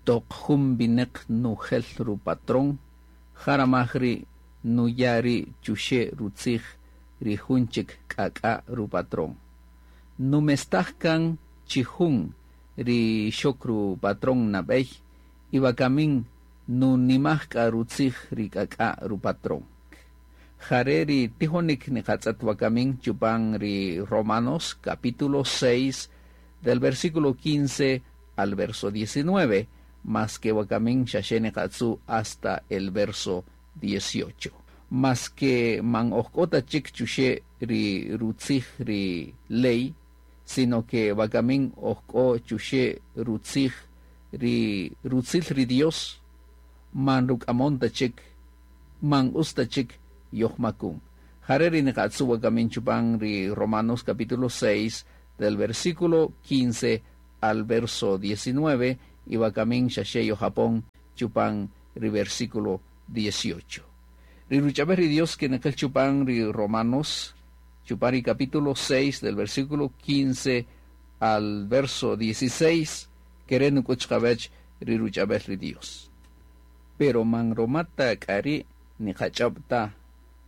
Toq jun wineq nujel rupatrón, ja ramaj ri' nuya' ri' chuxe' rutzij ri jun chik k'ak'a' rupatrón. Numestaj kan chijun ri xok rupatrón nabey y wakami nunimaj k'a rutzij ri k'ak'a' rupatrón. Jare' ri tijonik niqatz'et wakami chupan ri Romanos capítulo 6 del versículo 15 al verso 19, mas que wakamin xaxe niqatzu hasta el verso 18. Mas que man ojk'o chik chuxe ri rutzij ri ley, sino que wakamin ojk'o chuxe rutzij ri rutzil ri Dios, man ruk'amon ta chik, man usta chik yojmakun. Jare ri niqatzu wakamin chupan ri Romanos capítulo 6 del versículo 15 al verso 19 y wakamin xaxe yojapon chupan ri versículo 18. Ri ruch'ab'el ri Dios que neqel chupan ri Romanos chupan ri capítulo 6 del versículo 15 al verso 16 kere nuk'ut qawech ri ruch'ab'el ri Dios. Pero man romata k'ari niqach'ob' ta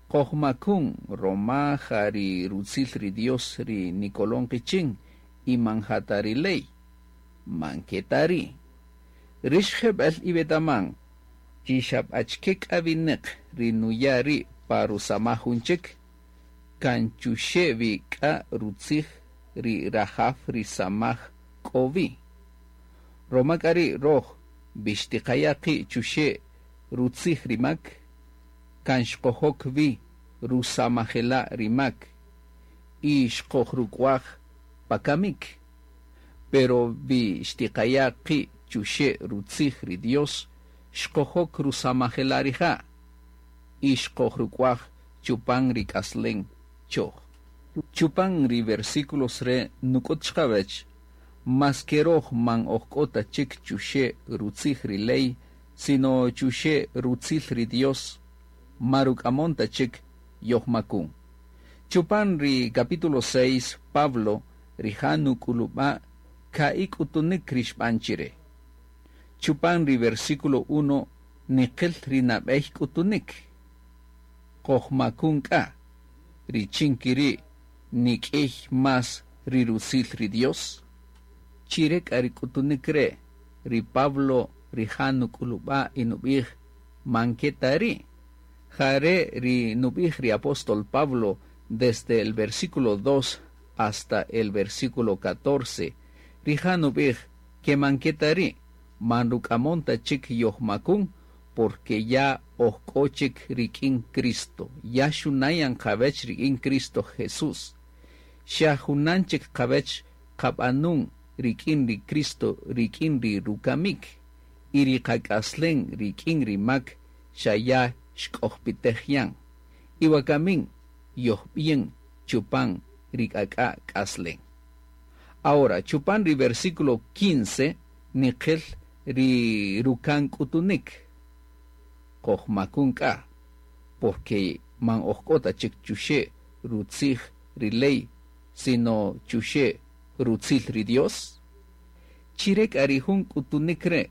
qojmakun roma ja ri rutzil ri Dios ri nikolon qichin y man jata ri ley. Man ketari. Rix jeb'el iwetaman chi xab'achke k'a wineq ri nuya' ri' pa rusamaj jun chik, kan chuxe' wi k'a rutzij ri rajaw ri samaj k'o wi. Roma k'a ri' roj bixtiqaya' qi' chuxe' rutzij ri mak, kan xqojok wi rusamajela' ri mak y xqojruk'waj pa kamik. Pero wi xtiqaya' qi' chuxe' rutzij ri Dios, xqojok rusamajela' rija' y xqojruk'waj chupan ri k'aslen choj. Chupan ri versículos re nuk'ut chqawech, mas que roj man ojk'o ta chik chuxe' rutzij ri ley, sino chuxe' rutzil ri Dios, ma ruk'amon ta chik yojmakun. Chupan ri capítulo 6, Pablo rija' nuk'ulub'a' ka'i' k'utunik ri xb'an chire. Chupan ri versículo 1 niqil ri nab'ey k'utunik. Qojmakun k'a, richin kiri' nik'ey más ri rutzil ri Dios. Chire k'a ri k'utunik re', ri Pablo rija' nuk'ulub'a' y nub'ij man keta ri'. Jare' ri nub'ij ri apóstol Pablo desde el versículo 2 hasta el versículo 14. Rija' nub'ij que man keta ri', man ruk'amon ta chik yojmakun, porque ya ojk'o chik rik'in Cristo. Ya xunayan qawech rik'in Cristo Jesús. Xa junan chik qawech qab'anun rik'in ri Cristo rik'in ri rukamik y ri qak'aslen rik'in ri mak xa ya xk'ojpitej yan. Y wakamin yojb'ien chupan ri k'ak'a' k'aslen. Ahora, chupan ri versículo 15 niqil ri rukan k'utunik. Qojmakun k'a, porque man ojk'o ta chik chuxe' rutzij ri ley, sino chuxe' rutzil ri Dios. Chire k'a ri jun k'utunik re',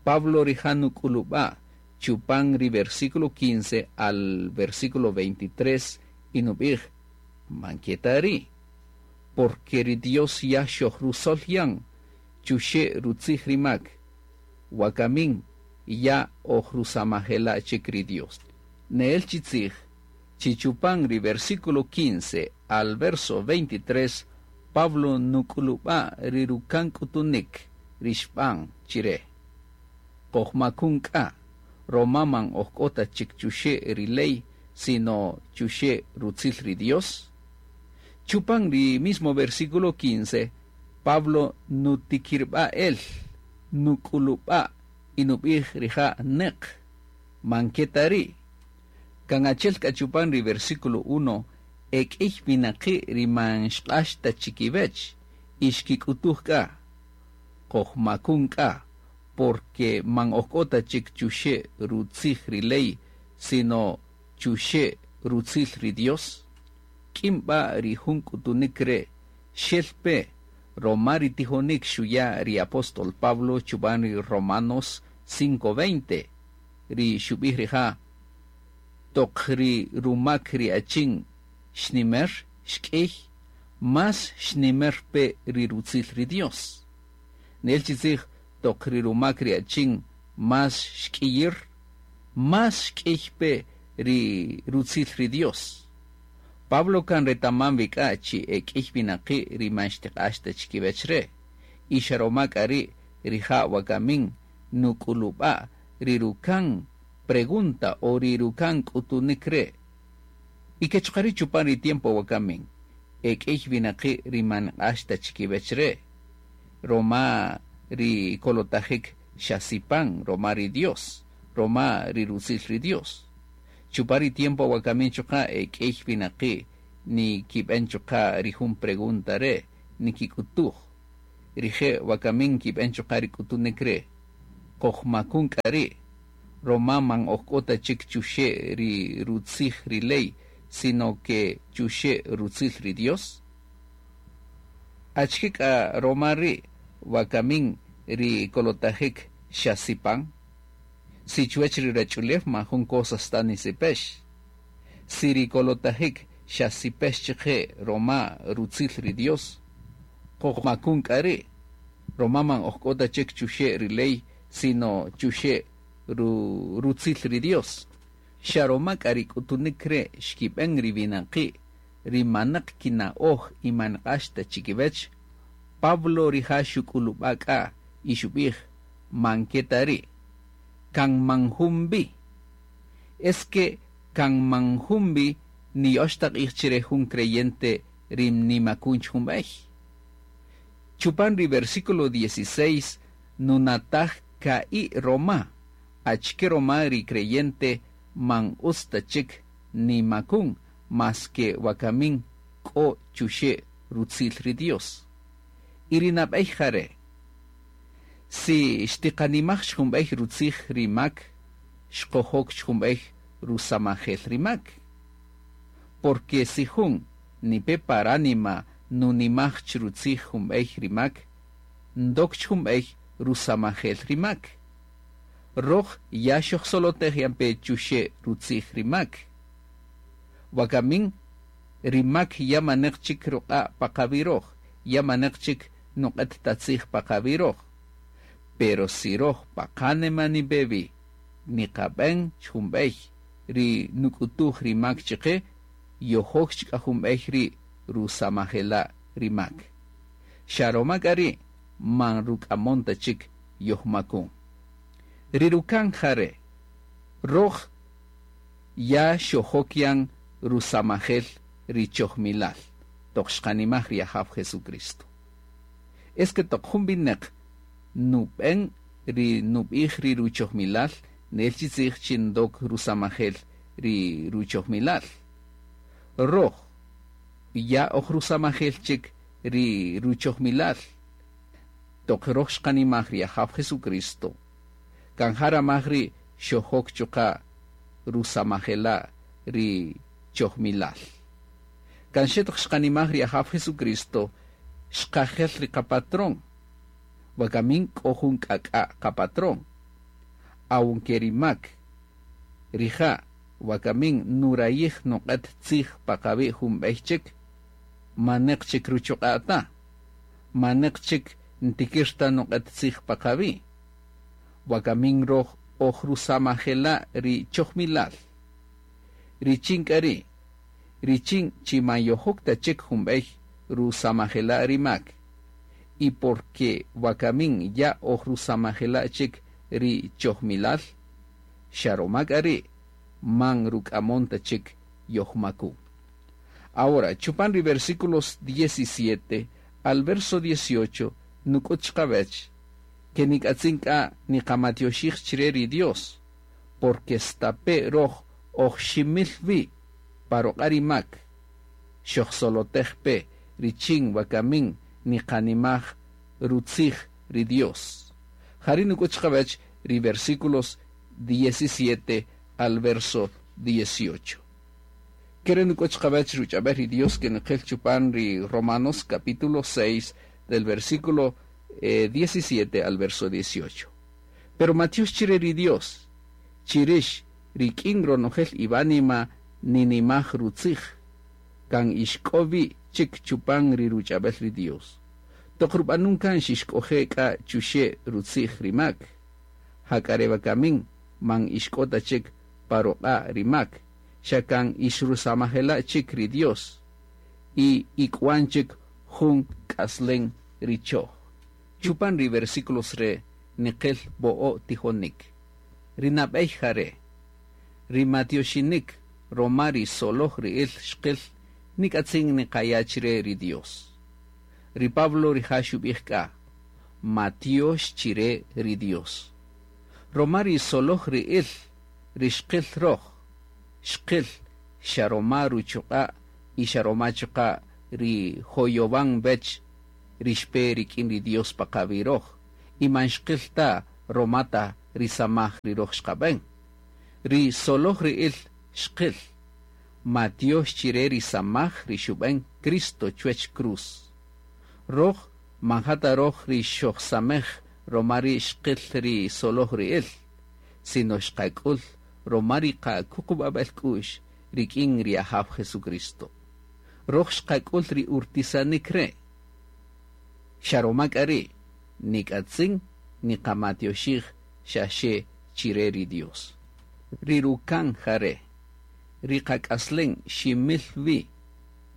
Pablo rija' nuk'ulub'a' chupan ri versículo 15 al versículo 23 y nub'ij man keta ri', porque ri Dios ya xojrusol yan chuxe' rutzij ri mak, wakamin ya ojrusamajela' chik ri Dios. Neel chitzij, chi chupan ri versículo 15 al verso 23, Pablo nuk'ulub'a' ri rukan k'utunik ri xb'an chire. Qojmakun k'a, roma man ojk'o ta chik chuxe' ri ley, sino chuxe' rutzil ri Dios. Chupan ri mismo versículo 15, Pablo nutikirba el, nuk'ulub'a' y nub'ij rija' neq, man keta ri'. Kan achel k'a chupan ri versículo 1, ek'ey winaqi' ri man xq'ax ta chikiwech y xkik'utuj k'a, qojmakun k'a, porque man ojk'o ta chik chuxe' rutzij ri ley, sino chuxe' rutzil ri Dios. K'in b'a ri jun k'utunik re' xel pe. roma ri tijonik xuya' ri apóstol Pablo chupan ri Romanos 5:20, ri xub'ij rija', Toq ri rumak ri achin xnimer, xk'iy, más xnimer pe ri rutzil ri Dios. Nel chi tzij toq ri rumak ri achin más xk'iyir, más xk'iy pe ri rutzil ri Dios. Pablo kan retaman wi k'a chi e k'iy winaqi' ri man xtiq'ax ta chikiwech re', y xa roma k'a ri' rija' wakamin nuk'ulub'a' ri rukan pregunta o ri rukan k'utunik re'. Y ke chuqa' ri' chupan ri tiempo wakamin, e k'iy winaqi' ri man nq'ax ta chikiwech re', roma ri kolotajik xa sipan roma ri Dios, roma ri rutzil ri Dios. Chupan ri tiempo wakamin chuqa' e k'iy winaqi' nikib'en chuqa' ri jun pregunta re', nikik'utuj. Rije' wakamin nkib'en chuqa' ri k'utunik re', Qojmakun k'a ri', roma man oj k'o ta chik chuxe' ri rutzij ri ley, sino ke chuxe' rutzil ri Dios? Achike k'a roma ri' wakamin ri kolotajik xa sipan? Si chuwech ri ruwach'ulew man jun cosas ta nisipex. Si ri kolotajik xa sipex chiqe roma rutzil ri Dios, qojmakun k'a ri', roma man oj k'o ta chik chuxe' ri ley, sino chuxe' rutzil ri Dios. Xa roma k'a ri k'utunik re' xkib'en ri winaqi' ri maneq kina'oj y man nq'ax ta chikiwech, Pablo rija' xuk'ulub'a' k'a y xub'ij, Man ke ta ri'. Kan man jun vi. Es que kan man jun vi niya'ox ta q'ij chire jun creyente ri nimakun jun b'ey. Chupan ri versículo 16 nunataj ka'i' roma, achike roma ri creyente man utz ta chik nimakun maske wakamin k'o chuxe' rutzil ri Dios. Y ri nab'ey jare', si xtiqanimaj jun b'ey rutzij ri mak, xqojok jun b'ey rusamajel ri mak. Porque si jun nipe pa ránima nunimaj rutzij jun b'ey ri mak, ndok jun b'ey rusamajel ri mak. Roj ya xojsolotej yan pe chuxe' rutzij ri mak. Wakamin ri mak ya maneq chik ruq'a' pa qawi' roj, ya maneq chik nuq'et ta tzij pa qawi' roj. Pero si roj pa qánima nipe wi, niqab'en jun b'ey ri nuk'utuj ri mak chiqe, yojok chik k'a jun b'ey ri rusamajela' ri mak. Xa roma k'a ri' man ruk'amon ta chik yojmakun. Ri rukan jare', roj ya xojok yan rusamajel ri chojmilal, toq xqanimaj ri Ajaw Jesucristo. Es que toq jun wineq nub'en ri nub'ij ri ruchojmilal, nel chi tzij chi ndok rusamajel ri ruchojmilal. Roj ya oj rusamajel chik ri ruchojmilal. Toq roj xqanimaj ri Ajaw Jesucristo, kan ja ramaj ri' xojok chuqa' rusamajela' ri chojmilal. Kan xe toq xqanimaj ri Ajaw Jesucristo, xqajel ri qapatrón. Wakamin k'o jun k'ak'a' qapatrón. Aunque ri mak, rija' wakamin nurayij nuq'et tzij pa qawi' jun b'ey chik, maneq chik ruchuq'a' ta, maneq chik ntikir ta nuq'et tzij pa qawi'. Wakamin roj oj rusamajela' ri chojmilal. Richin k'a ri', richin chi man yojok ta chik jun b'ey rusamajela' ri mak, y porque wakamin ya oj rusamajela' chik ri chojmilal, xa roma k'a ri' man ruk'amon ta chik yojmakun. Ahora, chupan ri versículos 17 al verso 18, nuk'ut chiqawech, ke nik'atzin k'a niqamatioxij chire ri Dios, porque stape' roj oj ximil wi pa ruq'a' ri mak, xojsolotej pe richin wakamin niqanimaj rutzij ri Dios. Jari' nuk'ut chiqawech ri versículos 17 al verso 18. Kere' nuk'ut chiqawech ruch'ab'el ri Dios ke niqil chupan ri Romanos capítulo 6, Del versículo 17 al verso 18. Pero matiox chire ri Dios, chi rix rik'in ronojel iwánima ninimaj rutzij, kan ixk'o wi chik chupan ri ruch'ab'el ri Dios. Toq rub'anun kan xixk'oje' k'a chuxe' rutzij ri mak, jak'a re wakamin man ixk'o ta chik pa ruq'a' ri mak, xa kan ix rusamajela' chik ri Dios y ik'uan chik jun k'aslen ri choj. Chupan ri versículos re' niqil wo'o' tijonik. Ri nab'ey ja re', ri matioxinik roma ri soloj ri'il xqil nik'atzin niqaya' chire ri Dios. Ri Pablo rija' xub'ij k'a, Matiox chire ri Dios. Roma ri soloj ri'il ri xqil roj, xqil xa roma ruchuq'a' y xa roma chuqa' ri joyowan wech ri xpe rik'in ri Dios pa qawi' roj, y man xqil ta roma ta ri samaj ri roj xqab'en. Ri soloj ri'il xqil, matiox chire ri samaj ri xub'en Cristo chuwech cruz. Roj man ja ta roj ri xojsamej roma ri' xqil ri soloj ri'il, sino xqak'ul roma ri qakuqub'ab'el k'u'x rik'in ri Ajaw Jesucristo. Roj xqak'ul ri urtisanik re', xa roma k'a ri' nik'atzin niqamatioxij xaxe chire ri Dios. Ri rukan ja re', ri qak'aslen ximil wi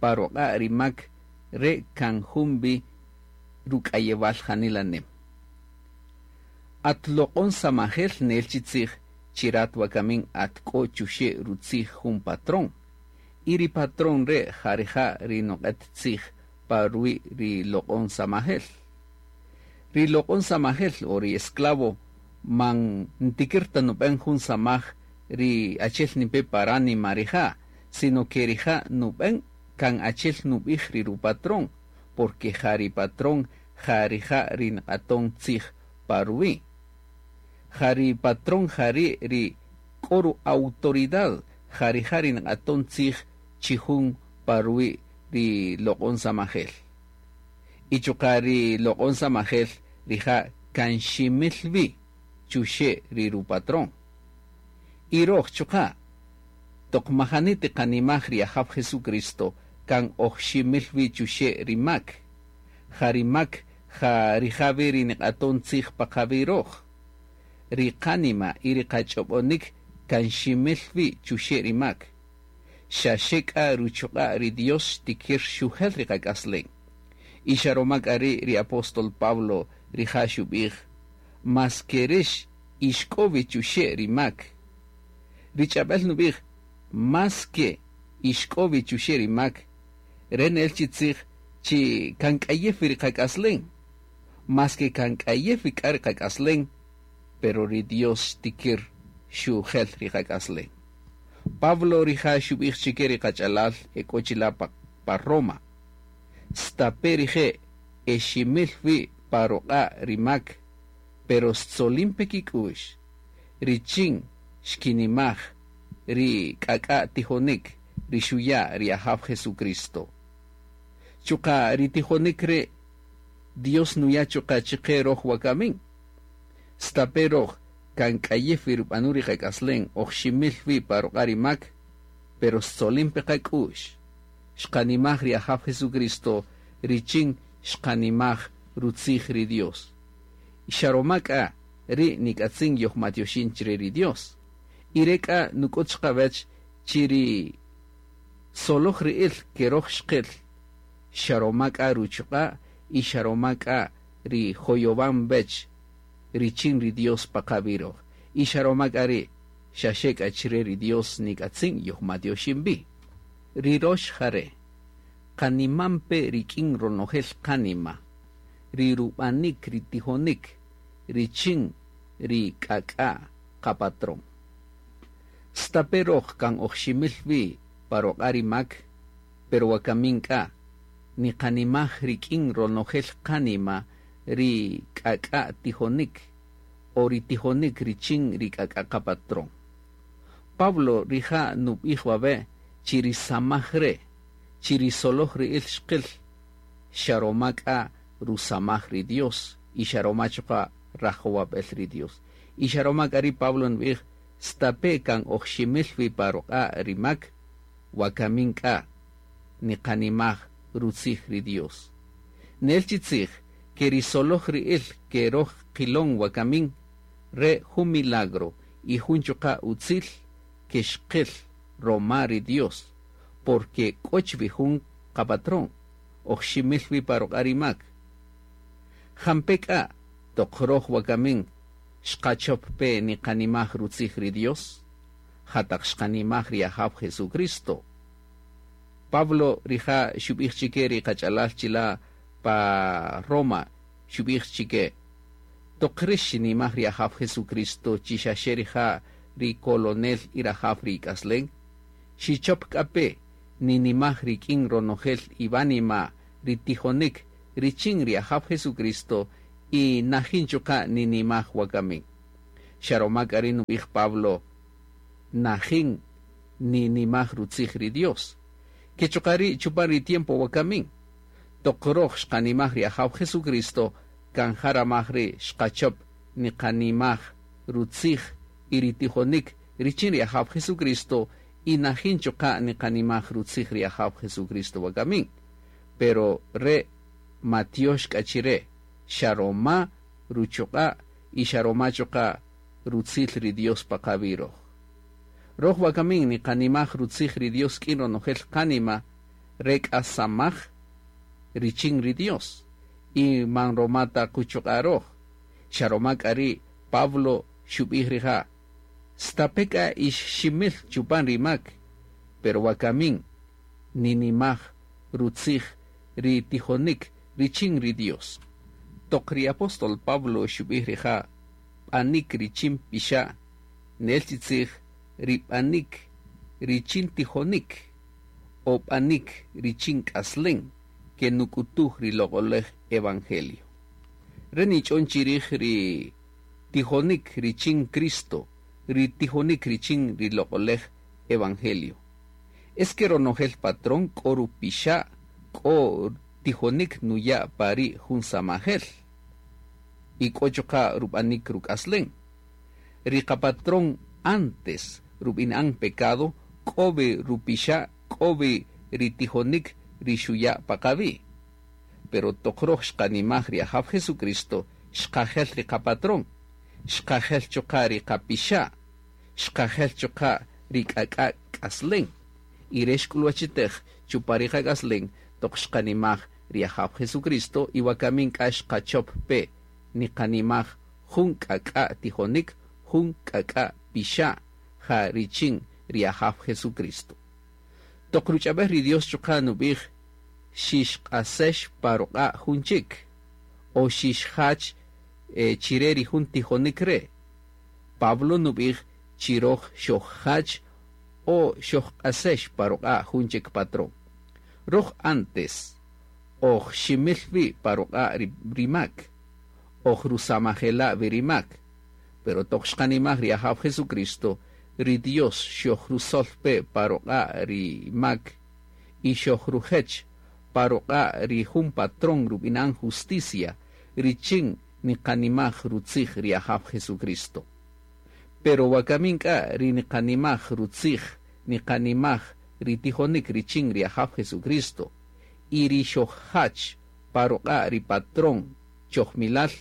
pa ruq'a' ri mak re' kan jun wi ruk'ayewal janila nim. At loq'on samajel nel chi tzij chi rat wakamin at k'o chuxe' rutzij jun patrón, y ri patrón re' ja rija' ri nuq'et tzij pa ruwi' ri loq'on samajel. Ri loq'on samajel o ri esclavo man ntikir ta nub'en jun samaj ri achel nipe pa ránima rija', sino ke rija' nub'en kan achel nub'ij ri rupatrón, porque ja ri patrón ja rija' ri nq'aton tzij pa ruwi'. Ja ri patrón ja ri' ri k'o ru-autoridad, ja rija' ri nq'aton tzij chi jun pa ruwi' ri loq'on samajel. Y chuqa' ri loq'on samajel rija' kan ximil wi chuxe' ri rupatrón. Y roj chuqa', toq majani tiqanimaj ri Ajaw Jesucristo kan oj ximil wi chuxe' ri mak. Ja ri mak ja rija' wi ri niq'aton tzij pa qawi' roj. Ri qánima y ri qach'ob'onik kan ximil wi chuxe' ri mak. Xaxe k'a ruchuq'a' ri Dios xtikir xujel ri qak'aslen. Y xa roma k'a ri' ri apóstol Pablo rija' xub'ij, Maske rix ixk'o wi chuxe' ri mak. Ri ch'ab'el nub'ij, Maske ixk'o wi chuxe' ri mak, re' nel chi tzij chi kan k'ayew wi ri qak'aslen. Maske kan k'ayew wi k'a ri qak'aslen, pero ri Dios xtikir xujel ri qak'aslen. Pablo rija' xub'ij chike ri qach'alal e k'o chila' pa Roma, Stape' rije' e ximil wi pa ruq'a' ri mak, pero xtzolin pe kik'u'x richin xkinimaj ri k'ak'a' tijonik ri xuya' ri Ajaw Jesucristo. Chuqa' ri tijonik re' Dios nuya' chuqa' chiqe roj wakamin. Stape' roj kan k'ayew wi rub'anun ri qak'aslen oj ximil wi pa ruq'a' ri mak, pero xtzolin pe qak'u'x. Xqanimaj ri Ajaw Jesucristo richin xqanimaj rutzij ri Dios. Xa roma k'a ri' nik'atzin yojmatioxin chire ri Dios. Y re' k'a nuk'ut chiqawech chi ri soloj ri'il ke roj xqil, xa roma k'a ruchuq'a' y xa roma k'a ri joyowan wech richin ri Dios pa qawi' roj. Y xa roma k'a ri' xaxe k'a chire ri Dios nik'atzin yojmatioxin wi. Ri rox ja re', qaniman pe rik'in ronojel qánima, ri rub'anik ri tijonik richin ri k'ak'a' qapatrón. Stape' roj kan oj ximil wi pa ruq'a' ri mak, pero wakamin k'a niqanimaj rik'in ronojel qánima ri k'ak'a' tijonik o ri tijonik richin ri k'ak'a' qapatrón. Pablo rija' nub'ij wawe' chi ri samaj re', chi ri soloj ri'il xqil, xa roma k'a rusamaj ri Dios y xa roma chuqa' rajowab'el ri Dios. Y xa roma k'a ri Pablo nub'ij, stape' kan oj ximil wi pa ruq'a' ri mak, wakamin k'a niqanimaj rutzij ri Dios. Nel chi tzij, ke ri soloj ri'il ke roj qilon wakamin, re' jun milagro y jun chuqa' utzil ke xqil roma ri Dios, porque k'o chi wi jun qapatrón, oj ximil wi pa ruq'a' ri mak. Jampe' k'a toq roj wakamin xqachop pe niqanimaj rutzij ri Dios? Ja taq xqanimaj ri Ajaw Jesucristo. Pablo rija' xub'ij chike ri qach'alal chila' pa Roma, xub'ij chike, toq rix xinimaj ri Ajaw Jesucristo chi xaxe rija' ri kolonel y rajaw ri ik'aslen, xichop k'a pe ninimaj rik'in ronojel iwánima ri tijonik richin ri Ajaw Jesucristo y najin chuqa' ninimaj wakamin. Xa roma k'a ri' nub'ij Pablo, najin ninimaj rutzij ri Dios. Ke chuqa' ri' chupan ri tiempo wakamin, toq roj xqanimaj ri Ajaw Jesucristo, kan ja ramaj ri' xqachop niqanimaj rutzij y ri tijonik richin ri Ajaw Jesucristo y najin chuqa' niqanimaj rutzij ri Ajaw Jesucristo wakamin. Pero re' matiox k'a chire, xa roma ruchuq'a' y xa roma chuqa' rutzil ri Dios pa qawi' roj. Roj wakamin niqanimaj rutzij ri Dios k'in ronojel qánima re k'a samaj richin ri Dios y man roma ta quchuq'a' roj. Xa roma k'a ri' Pablo xub'ij rija', stape' k'a ix ximil chupan ri mak, pero wakamin ninimaj rutzij ri tijonik richin ri Dios. Toq ri apóstol Pablo xub'ij rija' b'anik richin pixa', nel chi tzij ri b'anik richin tijonik o b'anik richin k'aslen ke nuk'utuj ri loq'olej evangelio. Re nich'on chirij ri tijonik richin Cristo, ri tijonik richin ri loq'olej evangelio. Es que ronojel patrón k'o rupixa' k'o tijonik nuya' pari' jun samajel y k'o chuqa' rub'anik ruk'aslen. Ri qapatrón antes rub'ina'an pecado k'o wi rupixa' k'o wi ri tijonik ri xuya' pa qawi'. Pero toq roj xqanimaj ri Ajaw Jesucristo, xqajel ri qapatrón, xqajel chuqa' ri qapixa', xqajel chuqa' ri k'ak'a' k'aslen. Y re xk'ulwachitej chupan ri qak'aslen toq xqanimaj ri Ajaw Jesucristo y wakamin k'a xqachop pe niqanimaj jun k'ak'a' tijonik, jun k'ak'a' pixa' ja richin ri Ajaw Jesucristo. Toq ruch'ab'el ri Dios chuqa' nub'ij xixq'asex pa ruq'a' jun chik o xixjach chire ri jun tijonik re'. Pablo nub'ij chi roj xojjach o xojq'asex pa ruq'a' jun chik patrón. Roj antes oj ximil wi pa ruq'a' ri mak, oj rusamajela' wi ri mak, pero toq xqanimaj ri Ajaw Jesucristo, ri Dios xojrusol pe pa ruq'a' ri mak y xojrujech pa ruq'a' ri jun patrón rub'inan justicia richin niqanimaj rutzij ri Ajaw Jesucristo. Pero wakamin k'a ri niqanimaj rutzij, niqanimaj ri tijonik richin ri Ajaw Jesucristo y ri xojjach pa ruq'a' ri patrón chojmilal,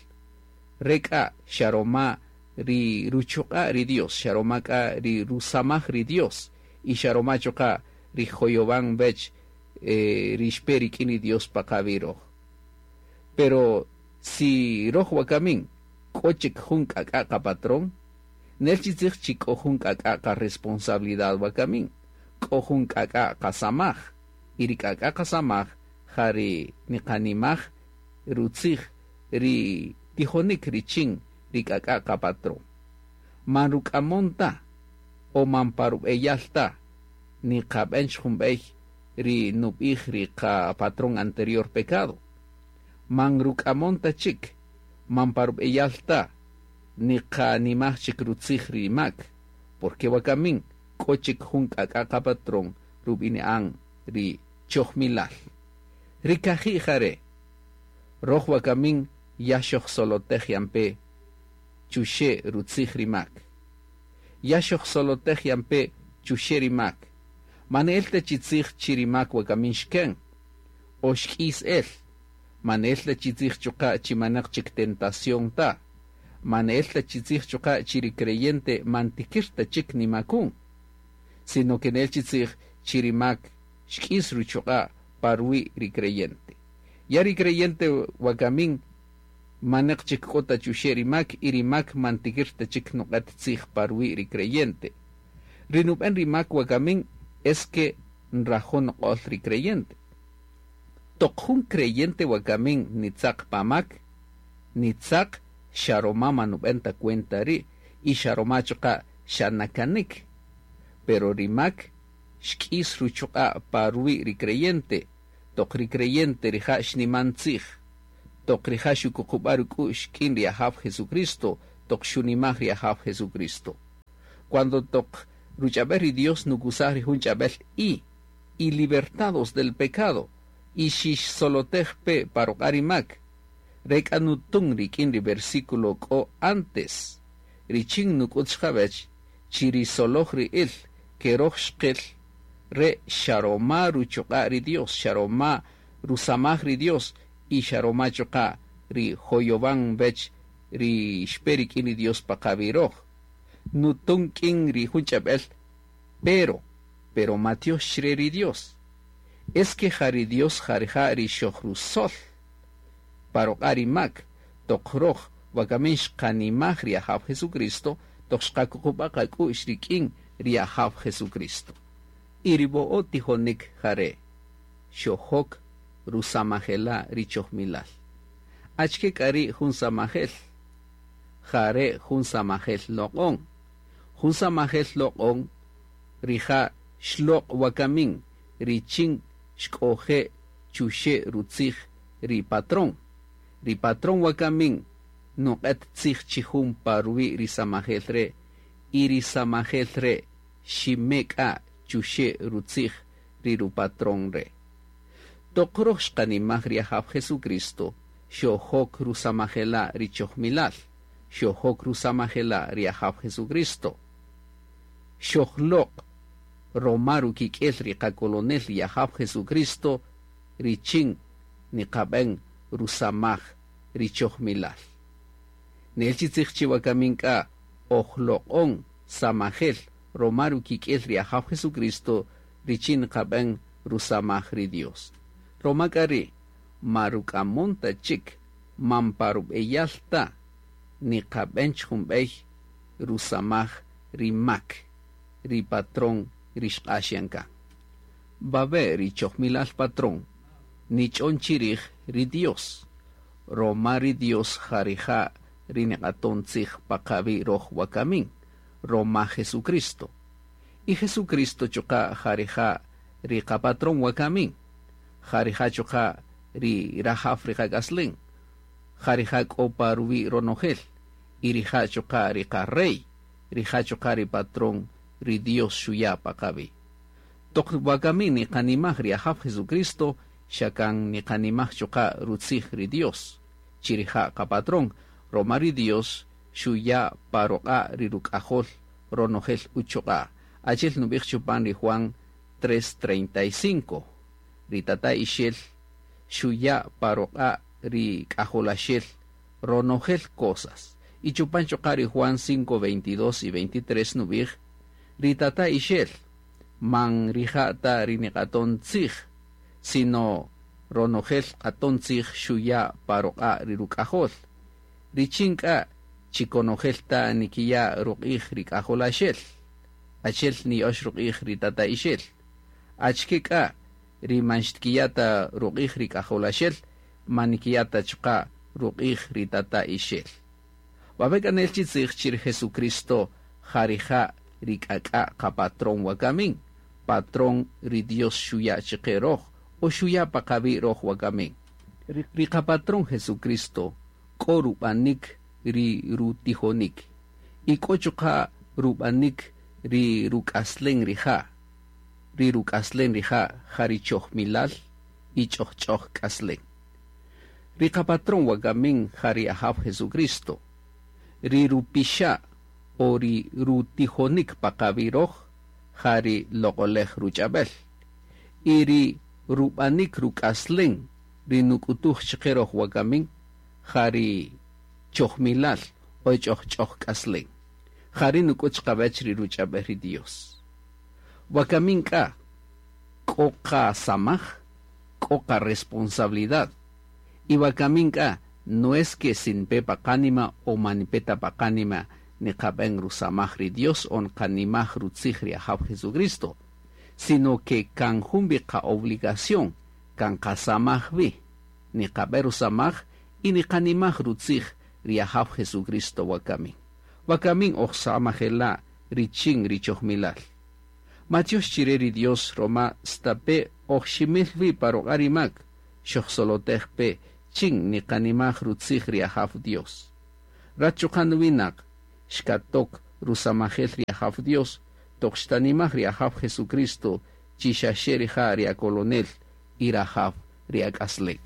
re k'a xa roma ri ruchuq'a' ri Dios, xa roma k'a ri rusamaj ri Dios y xa roma chuqa' ri joyowan wech ri xpe rik'in ri Dios pa qawi' roj. Pero si roj wakamin k'o chik jun k'ak'a' qapatrón, nel chi tzij chi k'o jun k'ak'a' qaresponsabilidad wakamin, k'o jun k'ak'a' qasamaj y ri k'ak'a' qasamaj ja ri niqanimaj rutzij ri tijonik richin ri k'ak'a' qapatrón. Man ruk'amon ta o man pa rub'eyal ta niqab'en jun b'ey ri nub'ij ri qapatrón anterior pecado. Man ruk'amon ta chik, man pa rub'eyal ta niqanimaj chik rutzij ri mak, porque wakamin k'o chik jun k'ak'a' qapatrón rub'ini'an ri chojmilal. Ri kaji' jare'. Roj wakamin ya xojsolotej yan pe chuxe' rutzij ri mak. Ya xojsolotej yan pe chuxe' ri mak. Man ne'el ta chi tzij chi ri mak wakamin xken o xk'is el. Man ne'el ta chi tzij chuqa' chi maneq chik tentación ta. Man ne'el ta chi tzij chuqa' chi ri creyente man tikir ta chik nimakun. Sino que ne'el chi tzij chi ri mak xk'is ruchuq'a' pa ruwi' ri creyente. Ya ri creyente wakamin maneq chik k'o ta chuxe' ri mak y ri mak man tikir ta chik nuq'et tzij pa ruwi' ri creyente. Ri nub'en ri mak wakamin es que nrajo' nuq'ol ri creyente. Toq jun creyente wakamin nitzaq pa mak, nitzaq xa roma man nub'en ta cuenta ri' y xa roma chuqa' xa nakanik. Pero ri mak xk'is ruchuq'a' pa ruwi' ri creyente, toq ri creyente rija' xniman tzij, toq rija' xukuqub'a' ruk'u'x k'in ri Ajaw Jesucristo, toq xunimaj ri Ajaw Jesucristo. Cuando toq ruch'ab'el ri Dios nukusaj ri jun ch'ab'el y, y libertados del pecado, y xixsolotej pe pa ruq'a' ri mak, re k'a nutun rik'in ri versículo k'o antes, richin nuk'ut xqawech chi ri soloj ri'il ke roj xqil re xa roma ruchuq'a' ri Dios, xa roma rusamaj ri Dios y xa roma chuqa' ri joyowan wech ri xpe rik'in ri Dios pa qawi' roj. Nutun k'in ri jun ch'ab'el, pero matiox chre ri Dios. Es que ja ri Dios ja rija' ri xojrusol pa ruq'a' ri mak, toq roj wakamin xqanimaj ri Ajaw Jesucristo, toq xqakuqub'a' qak'u'x rik'in ri Ajaw Jesucristo. Y ri wo'o' tijonik jare' xojok rusamajela' ri chojmilal. Achike k'a ri' jun samajel? Jare' jun samajel loq'on. Jun samajel loq'on rija' xloq' wakamin richin xk'oje' chuxe' rutzij ri patrón. Ri patrón wakamin nuq'et tzij chi jun pa ruwi' ri samajel re' y ri samajel re' xime k'a chuxe' rutzij ri rupatrón re'. Toq roj xqanimaj ri Ajaw Jesucristo, xojok rusamajela' ri chojmilal, xojok rusamajela' ri Ajaw Jesucristo. Xojloq' roma rukik'el ri qakolonel ri Ajaw Jesucristo richin niqab'en rusamaj ri chojmilal. Ne'el chi tzij chi wakamin k'a ojloq'on samajel roma rukik'el ri Ajaw Jesucristo richin niqab'en rusamaj ri Dios. Roma k'a ri' ma ruk'amon ta chik man pa rub'eyal ta niqab'en jun b'ey rusamaj ri mak, ri patrón ri xq'ax yan kan. Wawe' ri chojmilal patrón nich'on chirij ri Dios, roma ri Dios ja rija' ri niq'aton tzij pa qawi' roj wakamin, roma Jesucristo. Y Jesucristo chuqa' ja rija' ri qapatrón wakamin, ja rija' chuqa' ri rajaw ri qak'aslen, ja rija' k'o pa ruwi' ronojel, y rija' chuqa' ri qarey, rija' chuqa' ri patrón ri Dios xuya' pa qawi'. Toq wakamin niqanimaj ri Ajaw Jesucristo, xa kan niqanimaj chuqa' rutzij ri Dios, chi rija' qapatrón, roma ri Dios xuya' pa ruq'a' ri ruk'ajol ronojel uchuq'a'. Achi'el nub'ij chupan ri Juan 3:35, ri tata ixel xuya' pa ruq'a' ri k'ajolaxel ronojel cosas. Y chupan chuqa' ri Juan 5:22 y 23 nub'ij, ri tata ixel man rija' ta ri niq'aton tzij, sino ronojel q'aton tzij xuya' pa ruq'a' ri ruk'ajol. Richin k'a chi konojel ta nikiya' ruq'ij ri k'ajolaxel, achi'el niya'ox ruq'ij ri tata ixel. Achike k'a ri man xtkiya' ta ruq'ij ri k'ajolaxel, man nikiya' ta chuqa' ruq'ij ri tata ixel. Wawe' k'a nel chi tzij chi ri Jesucristo ja rija' ri k'ak'a' qapatrón wakamin, patrón ri Dios xuya' chiqe roj o xuya' pa qawi' roj wakamin. Ri qapatrón Jesucristo k'o rub'anik ri rutijonik y k'o chuqa' rub'anik ri ruk'aslen rija', ri ruk'aslen rija' ja ri chojmilal y ch'ojch'oj k'aslen. Ri qa-patrón wakamin ja ri Ajaw Jesucristo, ri rupixa' o ri rutijonik pa qawi' roj ja ri loq'olej ruch'ab'el, y ri rub'anik ruk'aslen ri nuk'utuj chiqe roj wakamin ja ri chojmilal o ch'ojch'oj k'aslen, jari' nuk'ut chiqawech ri ruch'ab'el ri Dios. Wakamin k'a k'o qasamaj, k'o qa-responsabilidad, y wakamin k'a no es que si nipe pa qánima o man nipe ta pa qánima niqab'en rusamaj ri Dios o nqanimaj rutzij ri Ajaw Jesucristo, sino que kan jun wi qa-obligación, kan qasamaj wi, niqab'en rusamaj y niqanimaj rutzij ri Ajaw Jesucristo wakamin. Wakamin oj samajela' richin ri chojmilal. Matyox chire ri Dios roma stape' oj ximil wi pa ruq'a' ri mak, xojsolotej pe chin niqanimaj rutzij ri Ajaw Dios. Rat chuqa' nuwinaq xkatok rusamajel ri Ajaw Dios toq xtanimaj ri Ajaw Jesucristo chi xaxe rija' ri akolonel y rajaw ri ak'aslen.